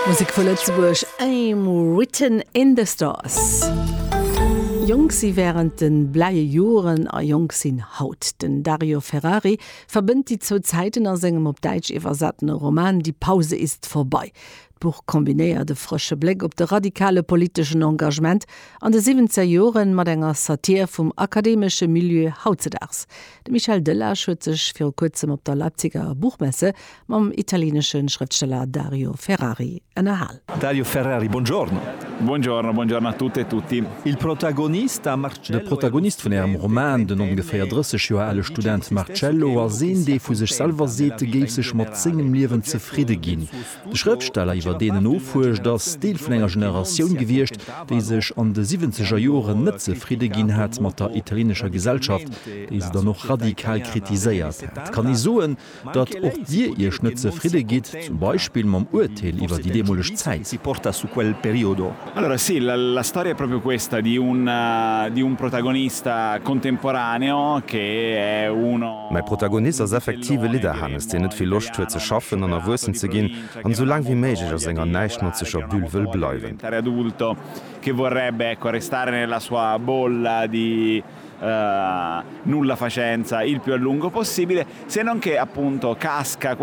Musek vu Lëtzebuerg, I'm written in the stars. Jonk si wärend de bläie Joren a jonk sinn haut. Den Dario Ferrari verbënnt déi zwou Zäiten a sengem op Däitsch iwwersatene Roman Die Pause ist vorbei. D'Buch kombinéiert e frësche Bléck op de radikale politeschen Engagement an de siwwenzeger Joren mat enger Satir vum akademesche Milieu hautzedaags. De Michel Delage huet sech viru kuerzem op der Leipziger Buchmesse mam italienesche Schrëftsteller Dario Ferrari ënnerhal. Dario Ferrari, buongiorno. Buongiorno, buongiorno a tutte e tutti. Il protagonista Marcello. De Protagonist vun Ärem Roman, den ongeféier 30 Joer ale Student Marcello, ass een, dee vu sech selwer seet, e géif sech mat sengem Liewen zefridde ginn. De Schrëftsteller, iwwer deen en nofuerscht, ass Deel vun enger Generatioun gewiescht, déi sech an de siwwenzeger Joren net zefridde ginn hat mat der italienescher Gesellschaft, déi se dann och radikal kritiséiert hat. Kann ee soen, datt och Dir Iech net zefridde gitt, zum Beispill mam Urteel iwwer déi deemoleg Zäit? Allora sì, la storia è proprio questa di un di un protagonista contemporaneo che è uno. Mäi Protagonist ass effektiv e Lidderhanes, deen net vill Loscht huet ze schaffen an erwuessen ze ginn an esou laang wéi méiglech a senger näischtnotzeger Bulle wëll bleiwen. Che vorrebbe, ecco, restare nella sua bolla di nullafacenza il più a lungo possibile, se non che appunto casca quasi.